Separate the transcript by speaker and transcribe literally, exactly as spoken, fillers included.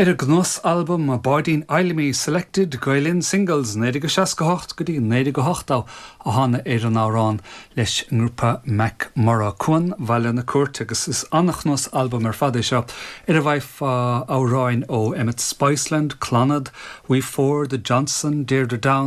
Speaker 1: Ar a gcnuasalbam Báidín Fheidhlimí Selected Gael Linn Singles naoi déag seasca hocht go dtí naoi déag ochtó a thána ar an amhrán leis an ngrúpa MacMurrough Cuan Bhaile na Cúirte agus is an-chnuasalbam ar fad é seo ar a bhfaighfeá amhráin ó Emmet Spiceland, Clannad, We Four, The Johnson, Deirdre Down,